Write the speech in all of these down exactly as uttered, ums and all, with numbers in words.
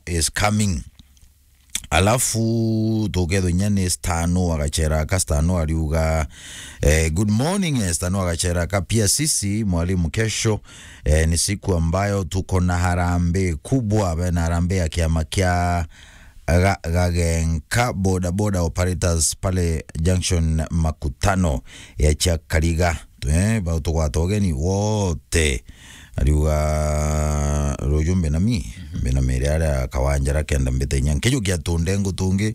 is coming. Alafu tukethwa inya ni Stano agachera ka Stano ariuga, eh, good morning, eh, Stano agachera ka pia sisi, mwalimu, kesho, eh, ni siku ambayo tuko na harambee kubwa, bena harambee ya kiama kia ga-, Gagenka boda boda operators pale junction Makutano ya Chakariga. Eh, bau tugwata ugeni wote. Ariuga, ruju mbinami, mbinami iria aria kawanja ra kenda mbite inya. Nkijukia tundengu tungi,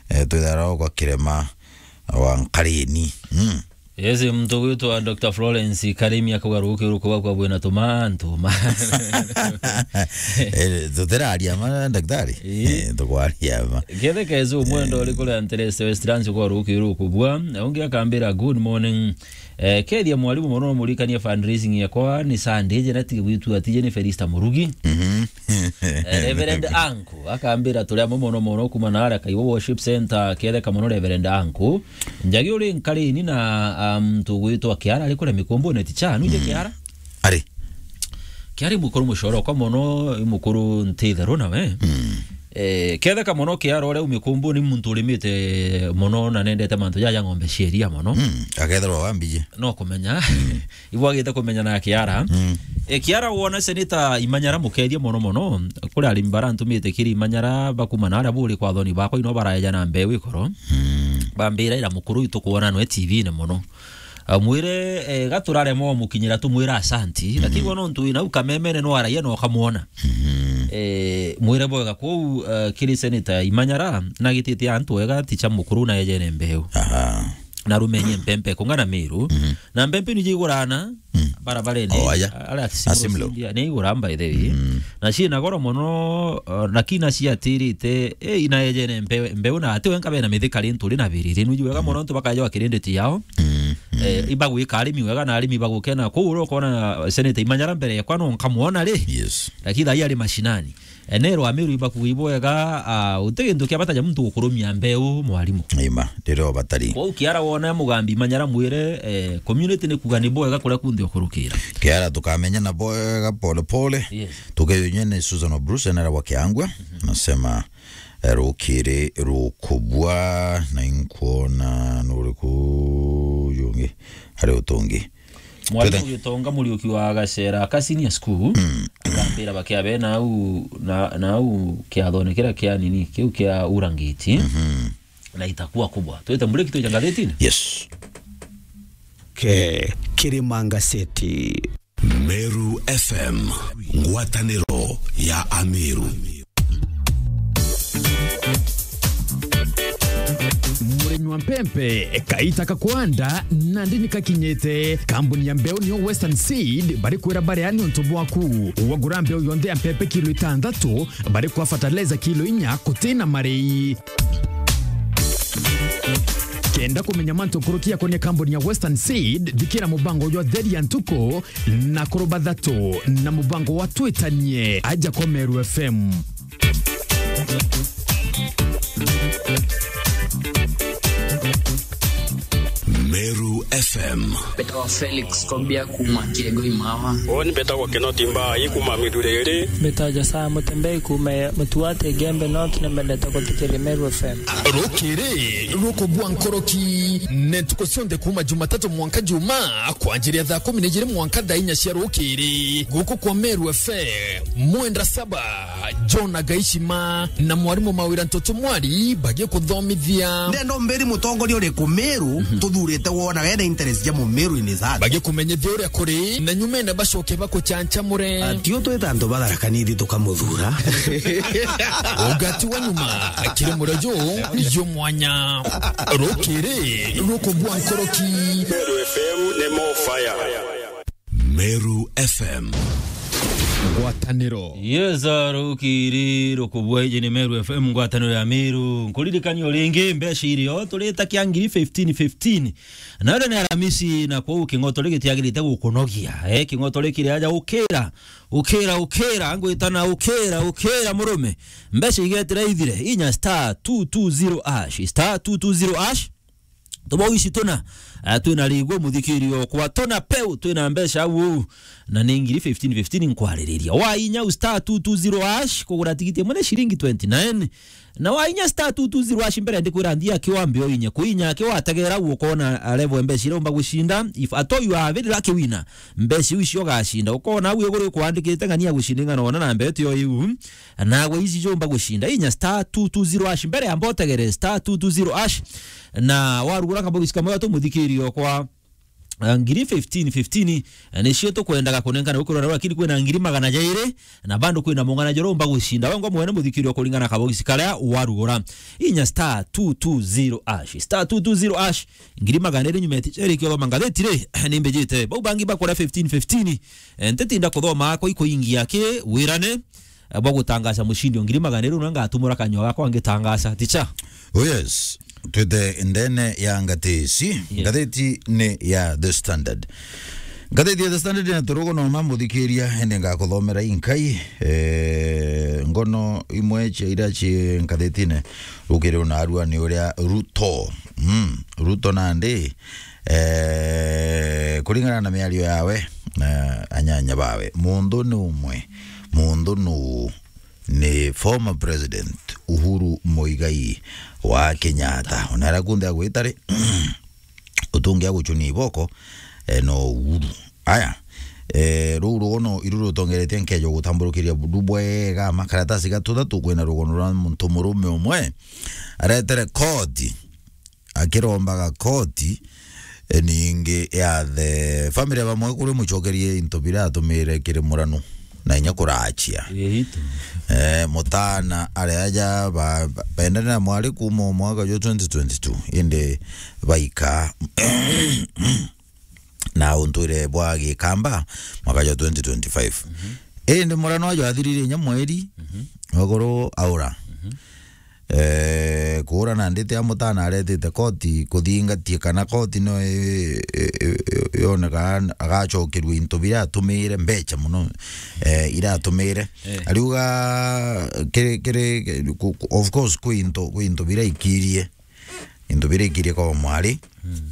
eh, twithara kwa kirema wa Nkarini. Mm. Yes, muntu gwitwa Doctor Florence Karimi akauga ruki ruku bakwa bwina tumantu ma. Eh, tutiraria ma, daktari? Ii. Eh, tukwaria ma. Kethe kezu mwendo uri kuria Ntereste Westlands kwa ruki ruku bwa. Na ungi akambira, "Good morning." Eh, kethia mwalimu mono, murikanie fundraising yakwa ni Sunday, je natige gwitua ati je ni Felista Murugi. Mhm. Eh, Reverend Anku akambira, "Turi amwe mono mono kuma na aria Kaiwa Worship Center, ketheka mono Reverend Anku." Njagi uri Nkarini na, um, tugwitwa Kiara ari kuria Mikumbune, ticha, nuje Kiara? Ari. Kiara i mukuru mucoro kwa mono, i mukuru ntitheru nawe. Mm. Eh, ketheka mono Kiara uria u Mikumbune ni muntu urimite mono na nendete mantu jaja ng'ombe cia iria mono. Mm. Akethirwa wambiji. No kumenya. Ibwagite kumenya na Kiara. Mm. E, Kiara wona Seneta Imanyara mukethia mono mono. Kuri arimi barantumite kiri Imanyara bakuma na aria buri kwa thoni bakwa ino baraeja na mbeu ikoro. Mm. Bambira ira mukuru itu kuona nwe T V-ini mono. Amwire, e, gaturarema umukinyira tumwira asanti. Mm. Lakini wona untu wina u kamemene no araia no kamwona. Mm. E, mwire bwega kuu, e, kiri Seneta Imanyara na gitite antu wega ticha mukuru na ejene mbeu. Aha. Na rumenye mpempe kungana Miru. Mhm. Na mpempe ni jigurana, mm, barabarene. Oh, aya. Ala Asimlo. Asimlo. Ni igura, by the way. Mm. Na ciina goro mono, uh, na kina ciatirite, eh, ina ejene mpe-, mbeu na ati wenka bena mithikari nturi na biriri. Nuju wega mono ntu bakaja wa kirindi ciao. Mm. Mm. Eh, ibagwika arimi wega na arimi bagukena. Kuu uri ukona Seneta Imanyara mbere yakwa no nkamwona ri. Yes. Lakini thaa ii ari mashinani. Enero Amiru ibakuga ibwega, ah, uti gintu kia bata ja muntu gukurumia mbeu, mwarimu. Ima, riria ubatari. Kwou Kiara wona Mugambi Manyara mwire, eh, community ni kuga ni bwega kuria kunthe ukurukira. Kiara tukamenya na bwega pole pole. Yes. Tukeyunyia ni Susan O'Bruce, enera wa Kiangwa. Mhm. Nasema, eh, rukiri rukubwa, na inkuona nuriku jungi, hari utungi. Mwarimu Twethe- Gitonga Muriuki wa Gacera ka senior school, mm, agambira bakiabe nau, na, nau kiathone kiria kia nini, kiu kia Urangiti, mhm, na itakuwa kubwa. Twite mbureki twija ngathitini? Yes. Ke, Kirima Ngaseti. Meru F M, ngwataniro ya Amiru. Murimi wa mpempe, kaita ka kwanda nandi ni kakinyite. Kambuni ya mbeu niyo Western Seed bari kwira baria ni untu bwaku. Wagura mbeu yonthe ya mpempe kilo itantatu, bari kwa fertilizer kilo inya kutina marei. Kenda kumenya mantu nkuruki yakonia kambuni ya Western Seed, thikira mubango jwa Theri ya Ntuku na Kuru Bathatu na mubango wa Twitanie aja kwa Meru F M. Meru F M. Mbetawa Felix Kobia kuma Kiegoi Mawa. Uuni mbetagwa Kinoti Mbai kuma Miduriri. Mbetawa Josiah Mutembei kuma Mutuati Igembe North, ni mbendete guthikiria Meru F M. Rukiri rukubwa nkoroki, ni ntuku cionthe kuma Jumatatu mwanka Juma, kwanjiria thaa kumi na ijiri mwanka thaa inya cia rukiri, guku kwa Meru F M. Mwenda saba, John Agaishima na mwarimu Mawira Ntoto Mwari bagikuthomithia. Ndenda umbiri mutongoria uriku Meru, mhm, tuthurite wonaga ena interest ja Mumeru in his heart. Bagikumenyithia uria kuri, na nyumene bacoke bakuchanchamure. Atio twita antu batharakanithi tukamuthura. Ugati wa nyuma, kiri murejo, yo mwanya. Rukiri, rukubwa nkoroki. Meru F M ni more fire. Meru F M. Ngwataniro. Yes, rukiri rukubwa iji ni Meru F M, ngwataniro ya Meru. Nkuririkania o ringi, mbeca irio turita kia ngiri fifteen fifteen. Na rio ni Aramisi, na kwou king'otore gitiagirite gukunogia. Eh, king'otore kiri aja ukira, ukira, ukira, ngwitana ukira, ukira murume. Mbeca igetira ithire, inya star two two zero hash, star two two zero hash. Tubau ici tuna. Ah, twina Rigo, muthikiri okwa, tona peu, twina mbeca au, na ni ngiri fifteen fifteen nkwaririria. Wa inya u star two two zero hash, kugura tigiti imwe ni ciringi twenty-nine. Na wa inya star two two zero hash, mbere ndikwira nthia akiwa mbio inye. Kuinya akiwa ategera u ukona level mbeca iria umba gucinda. If at all you are very lucky winner, mbeca iu icio ugacinda. Ukona au iguru ikwandikite ng'ania gucinda ing'ana ona na mbeca iyo iu. Nawe ici jumba gucinda. Inya star two two zero hash, mbere amba utegere star two two zero hash. Na warugura kabox kamwe tu muthikiri okwa, eh, ngiri fifteen fifteen, eh, nicio tukwendaga kunenkana gukurora, lakini kwina ngiri magana jairi, na bado kwina mung'ana joro umba gucinda. Wengwa mwene muthikiri o kuringana na kabox karia warugura. Inya star two two zero hash. Star two two zero hash. Ngiri magana iri nyuma eti, eri kio thoma ngatheti ri, ni mbijite. Bau bangi bakora fifteen fifteen. Eh, ntitinda kuthoma akwa ikuingia ki wirane, eh, bwa gutangaca mucindi o ngiri magana iri, una ngatumura kanyua gakwa ngitangaca. Ticha. Oh yes. Twite ndene ya ngateci. Yes. Ngatheti ni ya The Standard. Ngatheti ya The Standard na turugo no mamuthikiria, ende ngakuthomera inkai, eh, ngono imwe cia ira ci ngathetine. Rukiri una arua ni uria Ruto. Mm, Ruto nandi, eh, kuringana na miario yawe, eh, anyanya bawe, mundu ni umwe, mundu nu ni former president Uhuru Muigai wa Kenyatta. Ona aria kunthe agwita ri, utungi agucunia iboko, eh, no Uhuru. Aya, eh, ruu rugono iru rutongeretie nkeja gutamburukiria bundu bwega makaratasi gatuthatu kwina rugono rwa muntu murume umwe aretere koti, akirombaga koti, e, ningi ya the family bamwe kuri mucokerie into bira atumire kiri muranu na inya kurachia. Iritu. Eh, mutana ari aja ba, ba, bendane na mwari kuma mwaka jwa twenty twenty-two, indi baika na untwire bwa Gikamba mwaka jwa twenty twenty-five. Mhm. Indi murano ajo athirire inya mweri, mhm, wakuru aura. Mhm. Eh, kuura na nditi ya mutana aretite koti kuthingatie kana koti no i-, i-, i-, i-, yoneka agacokerua into biria atumire mbecha muno, eh, iratumire. Eh. Ariuga kiri, kiri, ku-, ku-, of course, kwi into, kwi into biria ikirie. Into biria ikirie kwa mwari. Mm.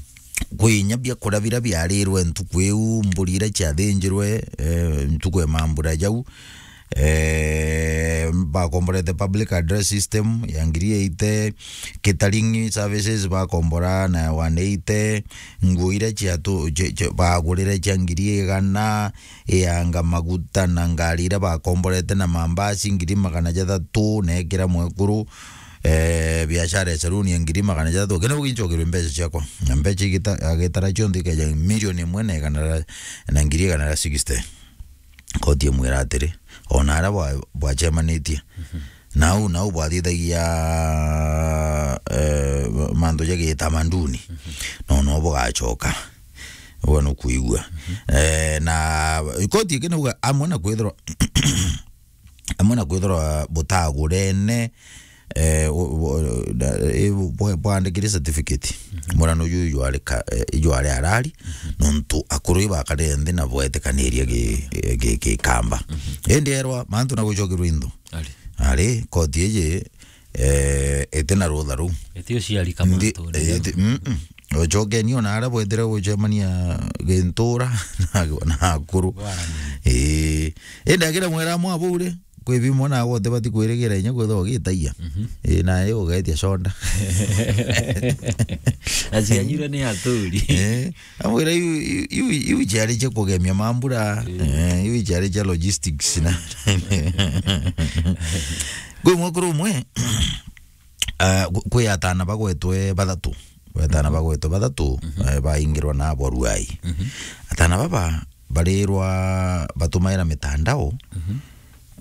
Kwi inya biakuria biria biarirwe ntuku iu, mburi iria ciathinjirwe, eh, ntuku ya mambura jau. Eh, bakomborete public address system ya ngiri eighty, catering services bakombora na one eighty, nguo iria ciatu-, cia, cia, bagurire cia ngiri igana, ianga maguta na ngari iria bakomborete na mambasi ngiri magana jathatu, na ekira mwekuru, eh, biashara ya saluni ya ngiri magana jathatu. Kenda ugincokerwe mbeca ciakwa. Na mbeca igita-, agitara cionthe ikeja milioni imwe na igana ria, na ngiri igana ria sixty. Koti imwira atiri, ona aria bwa-, bwacemanitie. Mhm. Nau, nau bwathithagia, eh, mantu ja gitamaduni. Mhm. No, no bugacoka. Uga nukuigua. Mhm. Eh, na koti ikinauga amwe na kwithirwa amwe na kwithirwa butagurene, eh, u-, u-, na, i-, bwa-, bwandikire certificate. Mhm. Murano ju ijwari ka-, eh, ijwari arari, mhm, nontu akuru ibakarire nthi na bwetikaniria gi-, gi-, gi-, Gikamba. Mhm. Indi erwa mantu na gucokerwa into. Ari. Ari, koti iji, eh, iti na rutha ruu. Iti uciari kama nthi, ntu, eh, iti, mm, mm. Ocokeni ona aria bwetire gucemania gintura na, na akuru. Warani. Ii. Indi akira mwera mwa bure, kwi bimwe na gwote bati kwirigira inya kwithwa ugitaia. Mhm. Ii, naye ugetia conda. Na cianyirwe ni aturi. Ii. Amwira iu, iu, iu, iu ciari cia kugemia mambura. Ii. Eh, iu ciari cia logistics na. Kwi mwekuru umwe, ah, kwi atana bagwetwe bathatu. Wetana bagwetwe bathatu, mhm, eh, baingirwa na abo Ruai. Mhm. Atana baba barirwa batumaira mitandao, mhm,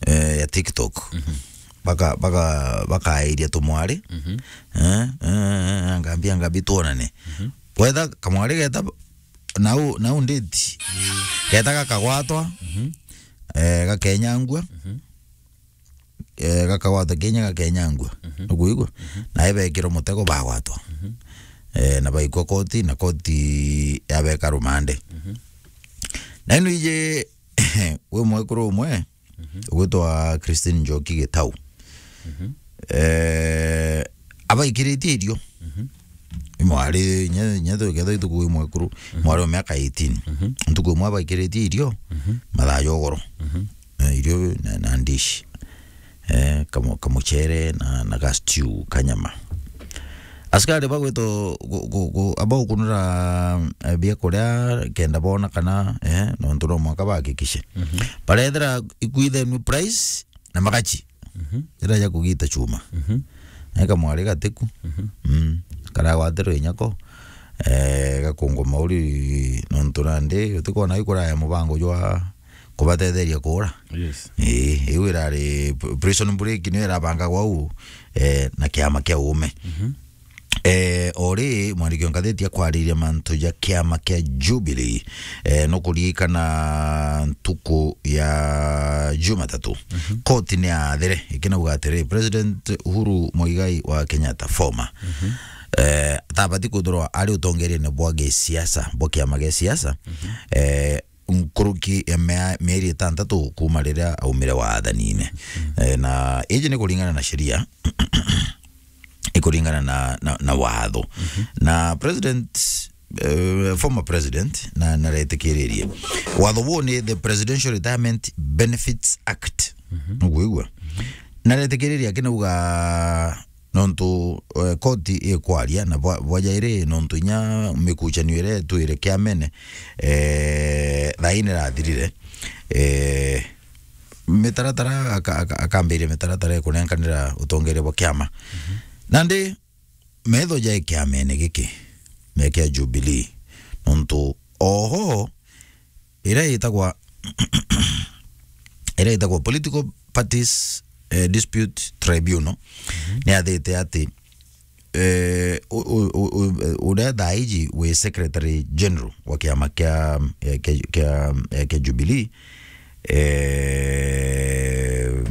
eh, ya TikTok. Mhm. Baka-, baka-, bakairia tumwari. Mhm. Eh, eh, eh, eh, ngambia, ngambi tuonane. Mhm. Wetha kamwari geta nau, nau nditi. Mhm. Geta gakagwatwa, mhm, eh, gakenyangua. Mhm. Eh, gakagwata Kenya, gakenyangua. Mhm. Nukuigua? Mhm. Nae bekirwa mutego, bagwatwa. Mhm. Eh, na baikwa koti, na koti yabeka rumande. Mhm. Na ino ije, wi mwekuru umwe, mhm, ugwitwa Christine Njoki Gitau. Mhm. Eh, abaikiritie irio. Mhm. Mwari, nya, nya tu-, ketha ituku imwe kuru, mwari wa miaka eighteen. Mhm. Ntuku imwe abaikiritie irio, mhm, mathaa jogoro. Mhm. Eh, irio na, na ndishi. Eh, kamu-, kamuchere na, na ga stew ka nyama. Askari bagwito gu-, gu-, gu-, abaukunura, eh, biakuria kenda bona kana, eh, nontu no mwanka bahakikishe. Mhm. Barethira ikwithenue price na magachi. Mhm. Ira ja kugita chuma. Mhm. Na kamwari gatiku. Mhm. Mm. Karagwatirwe inyako. Eh, gakungwa mauri nontu nandi utikwona ikuraya mubango jwa kubatetheria kuura. Yes. Ii, iu irari p-, prison break niyo irabangagwa uu, eh, na kiama kia uume. Mhm. Eh, ori mwandiki wa ngatheti akwariria mantu ja kiama kia Jubilee, eh, nukuririkana ntuku ya Jumatatu, mhm, koti ni yaathire ikinauga atiri, President Uhuru Muigai wa Kenyatta, former, mhm, eh, tabati kwithirwa ari utongeriene bwa gisiasa, bwa kiama gia siasa, mhm, eh, nkuruki ya mea-, mieri itantatu kuuma riria aumire wathanine. Mm. Eh, na iji ni kuringana na sheria, ikuringana na, na, na watho. Mhm. Na president, eh, former president, na, naretikiririe. Watho buu ni the Presidential Retirement Benefits Act. Mhm. Nukwigua? Mhm. Naretikiririe akinauga nontu, eh, koti ikwaria na bwa-, bwa jairi nontu inya mikuchanio iria itwire kiamene, eh, thaa ii nirathirire. Eh, mitaratara aka-, aka-, akambiria mitaratara ikunenkanira utongeria bwa kiama. Mhm. Nandi metho ja kiamene giki, me kia Jubilee, nontu oho iria itagwa, iria itagwa Political Parties, eh, Dispute Tribunal, mhm, ni yathite ati, eh, u-, u-, u-, u-, uria thaa iji wi Secretary General wa kiama kia, eh, kia, kia, eh, kia Jubilee, eh,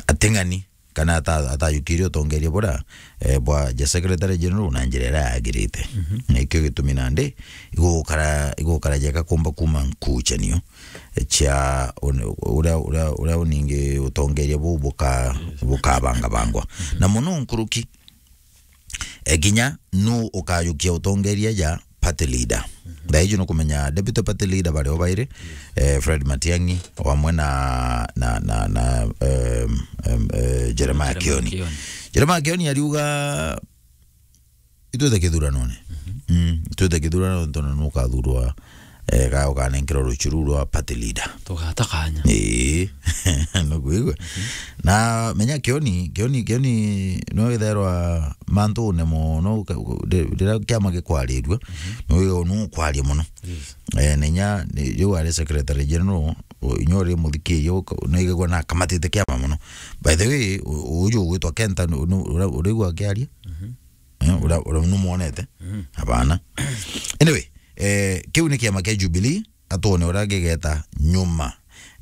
ating'ani kana ata-, atajukirie utongeria buria, eh, bwa ja Secretary General na njira iria yagirite. Mhm. Na ikio gitumi nandi igukara, igukara jeka kumba kuma nkuchanio, eh, cia un-, uria, uria, uria uningi utongeria buu buka-, yes, bukabangabangwa. Mhm. Na muno nkuruki, eh, kinya nu ukajukia utongeria ja party leader. Mhm. Thaa iji nukumenya deputy party leader bari o bairi, yes, eh, Fred Matiang'i, o amwe na, na, na, na, em, em, eh, Jeremiah Jeremiah Kioni. Kioni. Jeremiah Kioni ariuga, "Itwite kithuranone." Mhm. Mm, itwite kithuranone, tontu nukathurwa, eh, ga ukanenkerwa ruchiru rwa party leader. Tugata kanya. Ii. Nukwigua? Mhm. Na menya Kioni, Kioni, Kioni no itherwa mantune mono, ka-, ri-, riria kiama gikwarirua, mhm, no wigagwa nu ukwaria mono. Yes. Eh, na inya, ni, riu ari Secretary General, u-, inya uri muthikiria, uka-, no igagwa na akamatite kiama mono. By the way, u-, uju ugwitwa Kenta, nu-, nu-, ura-, uraigua akiaria? Mhm. Eh, ura-, ura-, numwonete? Mhm. Hapana. Anyway, eh, kiu ni kiama kia Jubilee, atwone uria gigeta nyuma,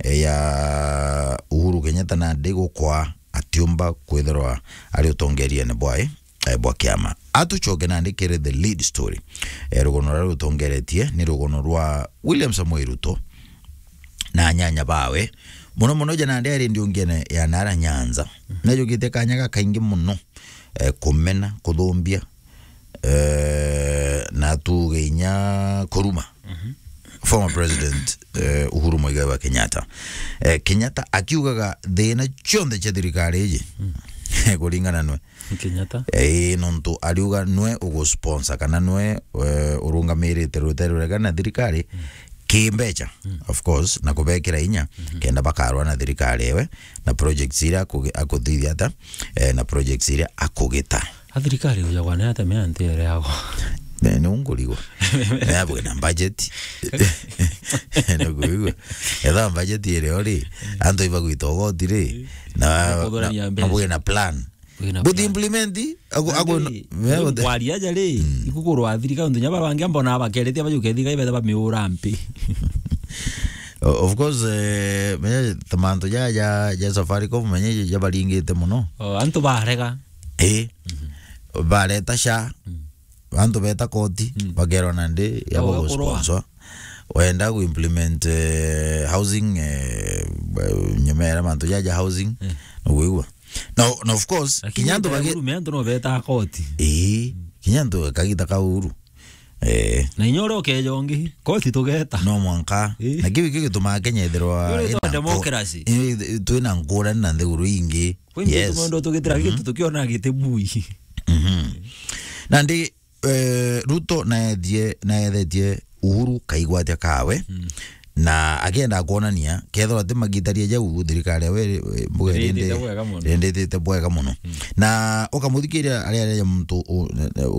eh, ya Uhuru Kenyatta nandi gukwa atiumba kwithirwa ari utongeriene bwae, eh, bwa kiama. Atucoke nandi kiri the lead story. Eh, rugono ruria rutongeretie ni rugono rwa William Samoei Ruto na anyanya bawe. Muno muno ja nandi ari ndiungene ya nara Nyanza. Mhm. Najukite kanya gakaingi muno, eh, kumena, kuthumbia, eh, na tuge inya kuruma. Mhm. Former President, eh, Uhuru Muigai wa Kenyatta. Eh, Kenyatta akiugaga thina cionthe cia thirikari iji, mm, kuringana nwe. Kenyatta? Eh, nontu ariuga nwe ugusponsor kana nwe, eh, urungamirite rutere rurega na thirikari, mm, kimbecha, mm, of course, na kubekira inya, mhm, kenda bakarwa na thirikari ewe, na projects iria akugi-, akuthithia ata, eh, na projects iria akugita. A thirikari ujagwa ni atemea nti ere yagwa. Ne, ni ungurigwa. Ne abwe na budget. Ne kuigwa. Etha budget iri ori, antu ibagwita ugoti ri, na, na, na bwe na plan. Bwe na plan. But implement, ago, ago, kwaria aja ri, mm, ikukurwa thirikari, ntu nya babangi ambona bakeretie bajuke thirikari betha bamiura mpi. O-, of course, eh, menye tamantu ja, ja, ja Safaricom, menye jabaringite muno. O, antu barega. Eh. Mhm. Bareta sha. Mm. Antu beta koti, mm, bakerwa nandi ya gusponsor. Wenda gu implement, eh, housing, eh, nyuma ya mantu ja, ja housing, mm, nuguigua. Na, na of course, lakini kinya antu bagi- rume antu no beta koti. Ii. Mm. Kinya ntu kagita ka Uhuru. Eh. Na inya uria ukeja ungi, koti tugeta. No mwanka. Eh. Na kiu kio gitumaa Kenya ithirwa Ndio ina nko-, democracy. Eh, twina ngurani na nthiguru ingi. Kwingi Yes. tumaundu tugitira Mhm. gitu tukiona giti bui. Mhm. Na ndi, eh, Ruto naethie, naethetie Uhuru kaigwatia kawe. Mm. Na akienda kwonania, kethirwa ati magitaria jau, thirikari yawe, eh, mbuga Irindite irindi-, bwega muno. irinditite bwega muno. Mm. Na ukamuthikiria aria aria muntu u-,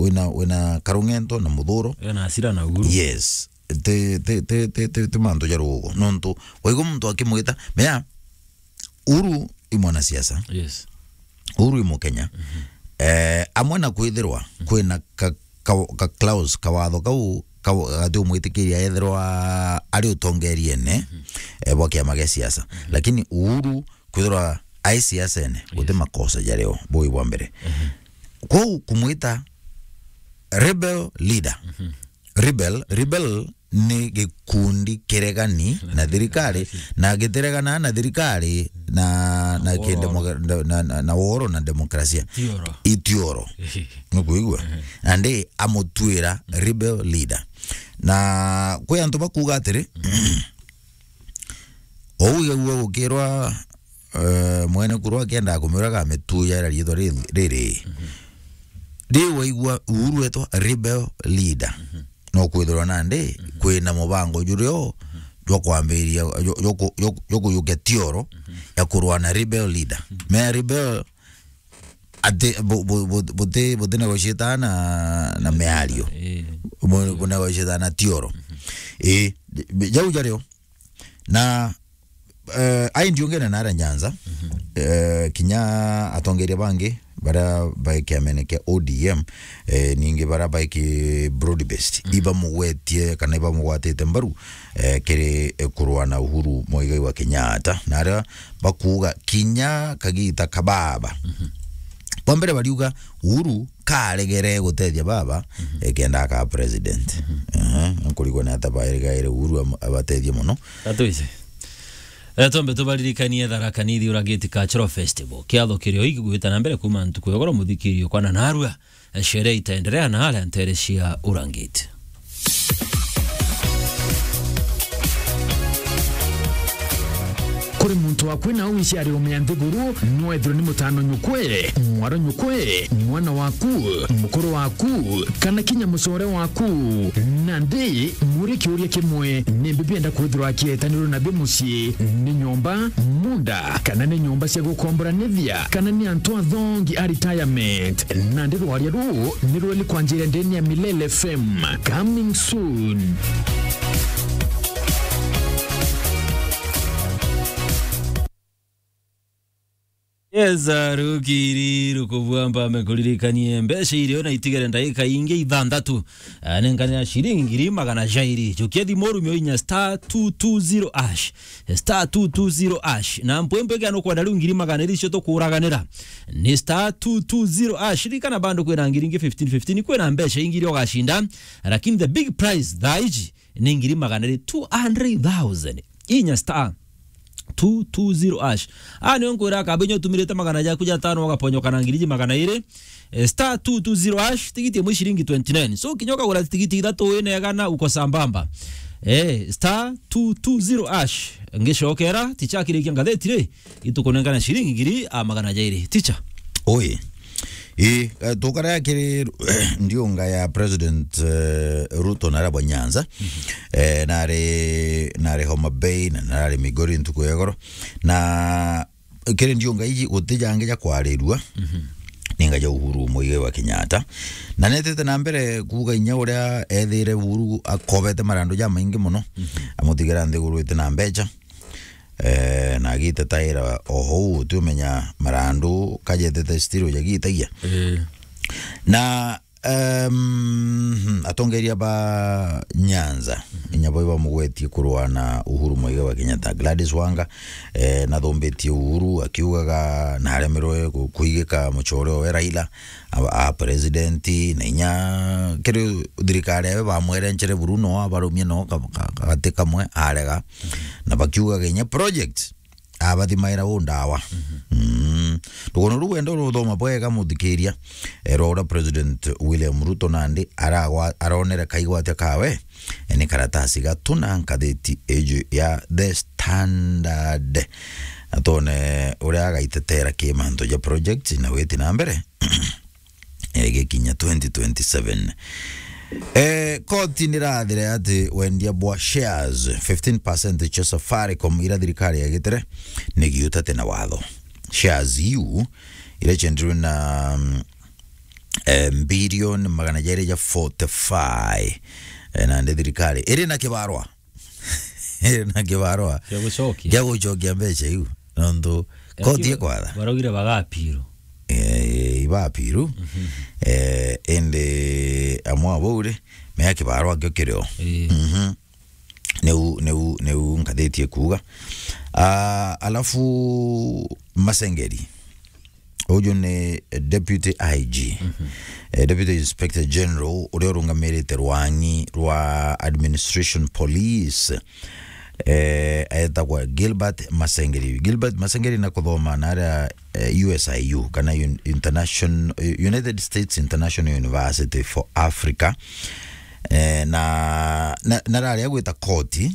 wina, wina karung'ento na muthuro. Ena hasira na Uhuru. Yes. Ti, ti, ti, ti, ti, ti mantu ja rugo. Nontu, waigua muntu akimwita, mea, Uhuru i mwanasiasa. Yes. Uhuru i Mukenya. Mhm. Eh, amwe na kwithirwa Mhm. kwina ka, ka, ka clause, kawatho kau, ka, gati umwitikiria ethirwa ari utongeriene, Mhm. eh, bwa kiama gia siasa. Mhm. Lakini Uhuru kwithirwa ai siasene, guti Yes. makosa jario, bui bwa mbere. Mhm. Kwou kumwita rebel leader. Mhm. Rebel, rebel ni gikundi kiregani na thirikari, na gitiregana na thirikari na, na Na kindi woro. moga-, na, na, na, na woro na demokrasia. Tioro. Itioro. Nukuigua? Mhm. Na ndi amutwira rebel leader. Na kwi antu bakuga atiri, ou igagua gukirwa, eh, mwene kuru akiendaga kumiuraga amitujaira riitwa ri-, riri. Mhm. Ri waigua Uhuru etwa rebel leader. Mhm. No kwithirwa nandi Mhm. kwina mubango jurio Mhm. jwa kwambiriria, jwa, jwa ku-, jwa ku-, jwa kuyukia tioro Mhm. ya kurwa na rebel leader. Mhm. Mea rebel ati bu-, bu-, bu-, buti, buti negotiate na, na miario. Eh. Bu-, bu-, negotiate na tioro. Mhm. Eh, jau jario. Na, eh, ai ndiungene na aria Nyanza, Mhm. eh, kinya atongeria bangi baria bai kiamene kia O D M, eh, ningi baria bai ki broad based, Mhm. ibamugwetie kana ibamugwatite mbaru, eh, kiri, eh, kurwa na Uhuru Muigai wa Kenyatta, na aria bakuuga kinya kagita ka baba. Mhm. Bwa mbere bariuga Uhuru karegere gutethia baba, Mhm. ekenda akaa president. Mhm. Ehe, nkurigwa ni ata baeregaire Uhuru am-, abatethie mono. Gatwise. Eh, twambe tubaririkanie Tharaka Nithi Urangiti Cultural Festival. Kiatho kirio iki gwita na mbere kuma ntuku ya goro muthikirio kwa na narua. Eh, sherehe itaendelea na aria ntere cia Urangiti. Kuri muntu waku na wiciari umea nthiguru, nwethirwe ni mutano nyukwe, mwaro nyukwe, mwana waku, mukuru waku, kana kinya mucore waku. Nandi, muri kiuria kimwe, nimbi bienda kwithirwa akietanirwe nabio mucii? Ni nyomba, munda, kana ni nyomba cia gukomboranithia, kana ni antu athongi a retirement? Nandi rwaria ruu ni rweli kwanjira ndeni ya Milele F M. Coming soon. Yes, ah, rukiri rukubua mpame kuririkanie mbeca irio na itigere ndagika ingi ithanthatu. Ah, nengane ya shilingi ngiri magana jairi. Jukia thimu rumio inya star two two zero hash. Star two two zero hash. Na mpwempwe kia nukwenda riu ngiri magana iri cio tukuraganira. Ni star two two zero hash. Ririkana bado kwina ngiri ingi fifteen fifteen, kwina mbeca ingi iria ugacinda. Lakini the big prize thaa iji ni ngiri magana iri, two hundred thousand. Inya star two two zero hash. Ah, nio nkwira kaba inya utumirite magana jaku jatano ugaponyoka na ngiri iji magana iri. Eh, star two two zero hash, tigiti imwe ciringi twenty nine. So, kinya ukagura tigiti ithatu wina igana, uko sambamba. Eh, star two two zero hash. Ngicokera, ticha akirikia ngatheti ri, itukunengana ciringi ngiri a magana jairi. Ticha. Oi. Ii, eh, tukarea kiri ndiunga ya President, eh, Ruto na arabwa Nyanza. Mhm. Eh, nari, nari Homa Bay, na nari Migori ntuku ya igoro. Na kiri ndiunga iji guti jangi ja kwarirua. Mhm. Ninga ja Uhuru Muigai wa Kenyatta. Na netete na mbere kuuga inya uria ethire Uhuru akobete marandu jamaingi mono. Mhm. Amutigira nthiguru iti na mbecha. Eh, na agitetaira o hou, utiumenya marandu kajetete still jagitagia. Eh. Na, em, atongeria ba Nyanza, inya bo bamugwetie kurwa na Uhuru Muigai wa Kenyatta. Gladys Wanga, eh, nathumbitie Uhuru akiugaga naremerwe ku-, kuigika mucore we Raila a, a president, na inya kiri thirikari yawe bamwerenchere buru, no abarumie no ka, ka, kagati kamwe arega. Na bakiugaga inya project abathimaira u ndawa. Mhm. Mm. Rugono ruu wenda ruthoma bwega, muthikiria, eh, rwa uria President William Ruto nandi aragwa-, aronere kaigwatio kawe, eh, ni karatasi gatuna nkathiti iji ya The Standard. Atone uria agaitetera ki mantu ja project na witi na mbere. Eh, gikinya twenty twenty-seven. Eh, koti nirathire ati wendia bwa shares fifteen percent cia Safaricom iria thirikari yagitere ni giutate na watho. Shares iu iria ciendirwe na, mm, eh, mbilioni magana jairi ja forty-five. Eh, nandi thirikari iri na kibarwa. Iri na kibarwa Kia gucokia. Gia gucokia mbeca iu. Nontu koti ikwatha. Baraugire bagapiru. Eh, ibapiru. Eh, indi amwe abo uri, mea kibarwa kio kirio. Eh. Mhm. Niu, niu, niu nkathiti ikuuga. Ah, alafu Masengeri. Uju ni Deputy I G. Eh, Deputy Inspector General uria urungamirite rwang'i rwa Administration Police. Eh, etagwa Gilbert Masengeri. Gilbert Masengeri na kuthoma na aria, eh, U S I U, kana un-, Internation-, United States International University for Africa. Eh, na, na, na raria gwita koti,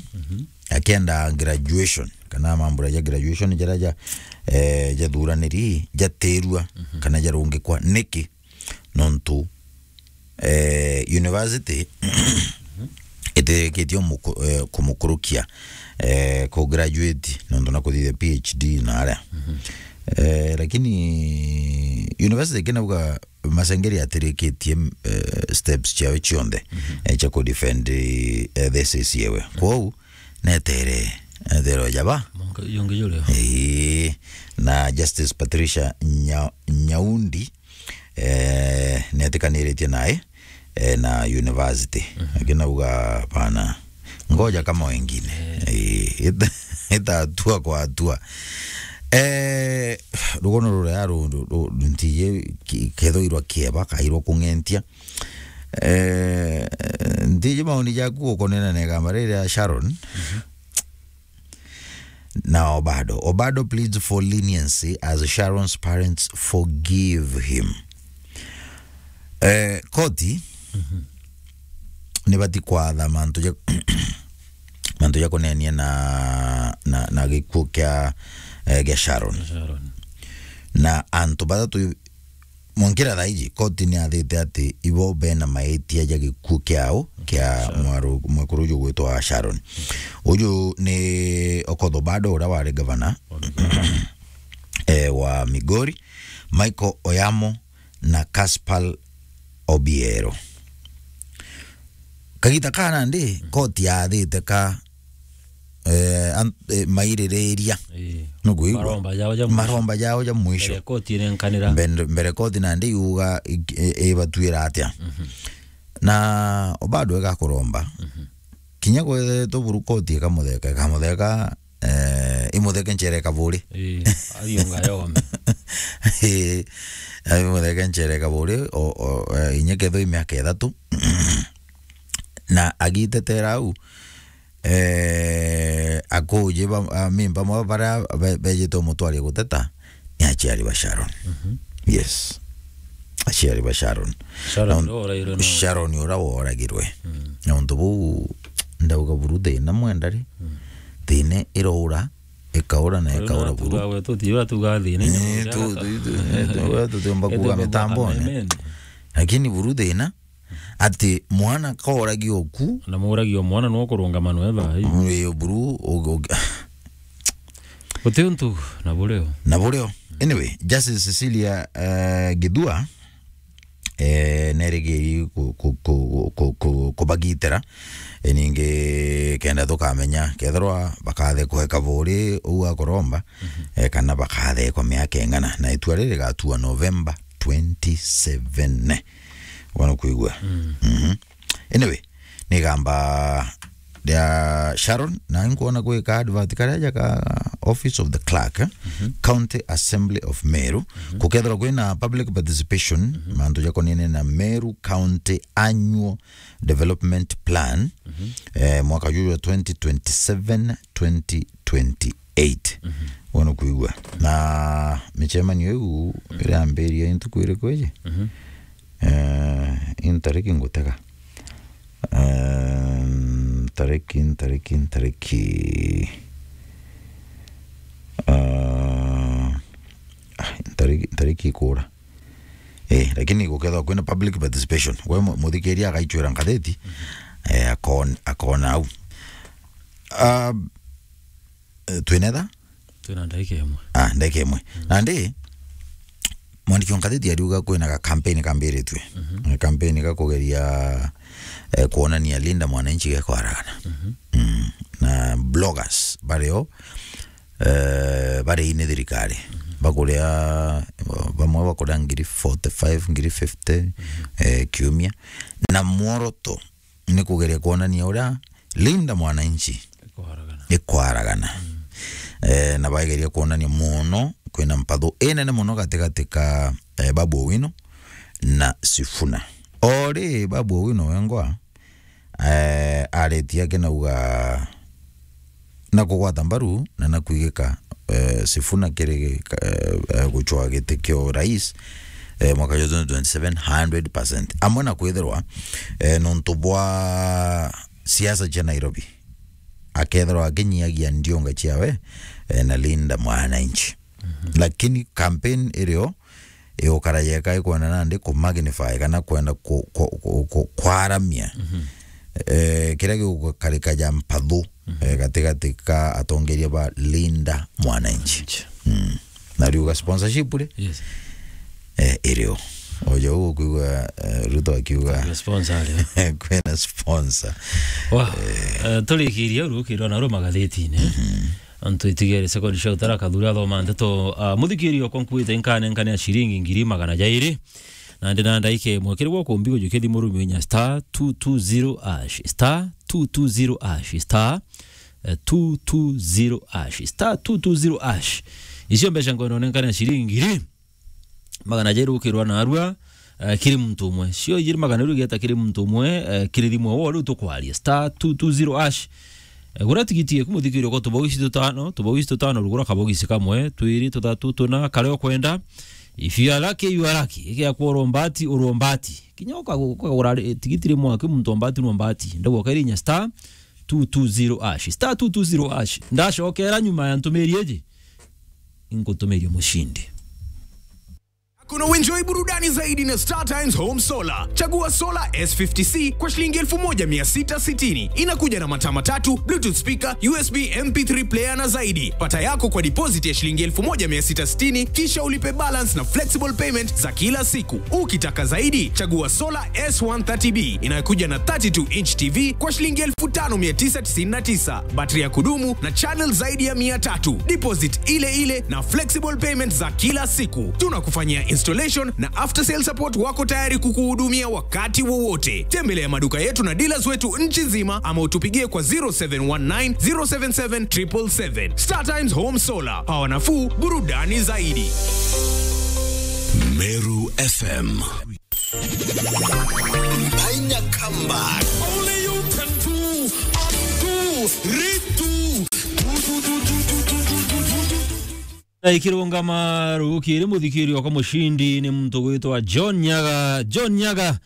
akienda graduation, kana mambura ja graduation jaria ja, eh, jathuraniri, jatirua, kana jarungikwa. Niki? Nontu, eh, university itirikitie umuku-, eh, kumukurukia, eh, ku graduate, nontu na kuthithia P H D na aria. Eh, lakini university kinauga Masengeri atirikitie, eh, steps ciawe cionthe, eh, cia ku defend, eh, thesis yewe. Kwou, netere, netere ojaba. Monka yonge jore. Ii, na Justice Patricia Nya-, Nyaundi, eh, netikaniritie nae, eh, na university. Akinauga, "Bana, ngoja kama wengine." Eh, ita-, itatua kwa hatua. Eh, rugono ruria ru-, ru-, ru-, ntiji ki-, kethoirwa kieba, kairwa kung'entia. Eh, ntiji maoni jaku ukonena na igamba riri ria Sharon. Na Obado. Obado pleads for leniency as Sharon's parents forgive him. Eh, koti nibati kwatha mantu ja, mantu ja kunenia na, na, na gikuo kia, eh, gia Sharon. Sharon. Na antu bathatu Mwankira thaa iji, koti ni yathite ati ibo bena maitia ja gikuo kiao kia mwaru-, mwekuru uju gwitwa Sharon. Uju ni Okoth Obado, uria wari gavana, eh, wa Migori, Michael Oyamo na Caspar Obiero. Kagita ka nandi, koti yathite ka, eh, an-, eh, maiririria. Ii. Nukwigua? Maromba jao ja mwisho. Maromba jao ja mwisho. Mbere koti inenkanira. Mbere, mbere koti nandi yuga i-, i-, ibatuira atia? Na Obado igakuromba. Kinya kwethetwe buru koti ikamutheka, ikamutheka, eh, imutheke nchere kaburi. Ii, athionga yome. Ii, imutheke nchere kaburi, o, o, eh, inya kethwe i miaka ithatu. Na agitetera au, eh, akuji ba, a, mimba mwa baria be-, bejite umutwaria guteta, ni aciari ba Sharon. Yes. Aciari ba Sharon. Sharon Na un-, uria woragirwe no. Sharon uria woragirwe. Na untu buu, ndauga buru thina mwenda ri. Thina iraura, ikaura na ikaura buru. Tuga we, tuti, ura tuga thina, eh, tu-, tu-, tu-, eh, tu-, we tutiumba kuga mitambone. Lakini buru thina, ati mwana kooragio ku. Na muragio mwana no kurungama no etha. Uyo buru, u-, u-, Guti untu na burio. Na burio. Anyway, Justice Cecilia, eh, Githua, eh, nerigiri ku-, ku-, ku-, ku-, ku-, kubagitira. Eh, ningi kenda tukamenya kethirwa bakathekwa kaburi uu akuromba, eh, kana bakathekwa miaka ing'ana. Na itua riri rigatua November twenty-seven. Wana kwigua? Anyway, nigamba ria Sharon, na nkuona gwika advert karia ja ka Office of the Clerk, eh? County Assembly of Meru. Kukethirwa kwina public participation, mantu jakonene na Meru County Annual Development Plan, eh, mwaka juju wa twenty twenty-seven, twenty twenty-eight. eight. Mhm. Wona kuigua. Na micemanio iu, mhm, iria yambiria ntuku iriku iji? Mhm. Eh, intariki ngutega. Eh, ntariki, ntariki, ntariki. Eh, ah, ntariki, ntariki ikura. Eh, lakini gukethwa kwina public participation. We mu-, muthikiria agaichwira ngatheti, mhm, eh, akon-, akona au. Ah, eh, twinetha? Twina ndagika imwe. Ah, ndagika imwe. Mm. Nandi, mwandiki wa ngatheti ariuga kwina ga campaign kambiritue. Mhm. Ga campaign ga kugeria, eh, kuonania Linda Mwananchi gekwaragana. Mhm. Mm. Na bloggers bario, eh, bari ini thirikari. Mhm. Bakuria, bamwe bakuria ngiri forty-five, ngiri fifty, mhm, eh, kiumia. Na mworoto ni kugeria kuonania uria Linda Mwananchi ikwaragana. Ikwaragana. Mm. Eh, na baigeria kuonania mono kwina mpatho inene mono gatigati ka, eh, Babu Owino na Sifuna. Ori Babu Owino wengwa, eh, aritie akinauga na kugwata mbaru na na kwigika, eh, Sifuna kiri, eh, eh, gucwa giti kia urais, eh, mwaka jwa twenty twenty-seven, hundred percent. Amwe na kwithirwa, eh, nontu bwa siasa cia Nairobi, akethirwa akinyiagia ndionga ciawe, eh, na Linda Mwananchi. Mhm. Lakini campaign irio igukara yeka ikwenda nandi ku magnify kana kwenda ku-, ku-, ku-, ku-, kwaramia, mhm, eh, kiria gigukarika ja mpathu, mhm, eh, gatigati ka atongeria ba Linda Mwananchi. Mwananchi. Mm. Na riuga sponsorship ri? Yes. Eh, irio. Oja uguo kwigua, eh, Ruto akiuga kwina sponsor ri? Kwina sponsor. Wa, eh, turikiria urukirwa na ru magatheti-ini. Mhm. Antu itigere second show tara kathuri athoma ndeto. Ah, muthikiri okwa nkuite nkane nkane ya shilingi ngiri magana jairi. Na ndi na ndaika imwe kiri gwa kumbi gujukia thimu rumio inya star two two zero hash, star two two zero hash, star, eh, two two zero hash, star two two zero hash. Icio mbeca ngono nenkane ya shilingi ngiri magana jairi ukirwa narua, eh, kiri muntu umwe. Cio ijiri magana jairi ugieta kiri muntu umwe, eh, kiri thimu wo riu tukwaria. Star two two zero hash. Eh, gura tigiti eku muthikiri okwa tubau ici tutano, tubau ici tutano rugura kabau ici kamwe, twiri, tuthatu, tuna, karia ukwenda. If you are lucky, you are lucky. Igia kwa urombati, urombati. Kinya uka-, ukagura ri-, tigiti rimwe aki muntu ombati no mbati. Ndagwa kairi inya star two two zero hash. Star two two zero hash. Ndacokera nyuma ya ntumiri iji. Ingutumiria mushindi. Kuna uenjoy burudani zaidi na Star Times Home Solar. Chagua Solar S fifty C kwa shilingi elfu moja mia sita sitini. Inakuja na mataa matatu, Bluetooth speaker, U S B M P three player na zaidi. Pata yako kwa deposit ya shilingi elfu moja mia sita sitini, kisha ulipe balance na flexible payment za kila siku. Ukitaka zaidi, chagua Solar S one thirty B inayokuja na thirty-two inch T V kwa shilingi elfu tano mia tisa tisini na tisa. Battery ya kudumu na channel zaidi ya mia tatu. Deposit ile ile na flexible payment za kila siku. Tunakufanyia installation na after sale support, wako tayari kukuhudumia wakati wowote. Tembelea maduka yetu na dealers wetu nchi nzima ama utupigie kwa zero seven one nine, zero seven seven, triple seven. Star Times Home Solar. Power nafuu, burudani zaidi. Meru F M. Mpaina Kamba. Only you can do, undo, redo. Na ikirungama rukiri muthikiri okwa mushindi ni muntu gwitwa John Nyaga. John Nyaga,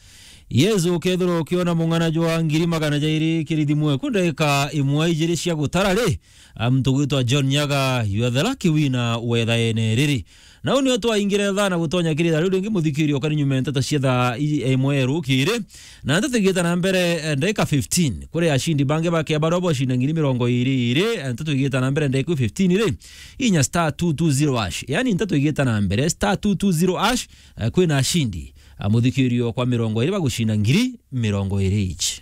Yesu ukethirwa ukiona mung'ana jwa ngiri magana jairi kiri thimu eku ndagika imwe ijiri cia gutara ri, a, muntu gwitwa John Nyaga, you are the lucky winner wethaene riri. Na uu nio twaingire thaa na gutonya kiri thaa riu ringi, muthikiri okari nyuma ya nteto cia thaa i-, imwe rukiri. Na nteto igita na mbere, eh, ndagika fifteen. Kuri ashindi bangi bakia baria bocinda ngiri mirongo iri iri, eh, nteto igita na mbere ndagika fifteen ri, inya star two two zero hash. Yani nteto igita na mbere, star two two zero hash, eh, kwina ashindi, ah, muthikiri okwa mirongo iri bagucinda ngiri mirongo iri each.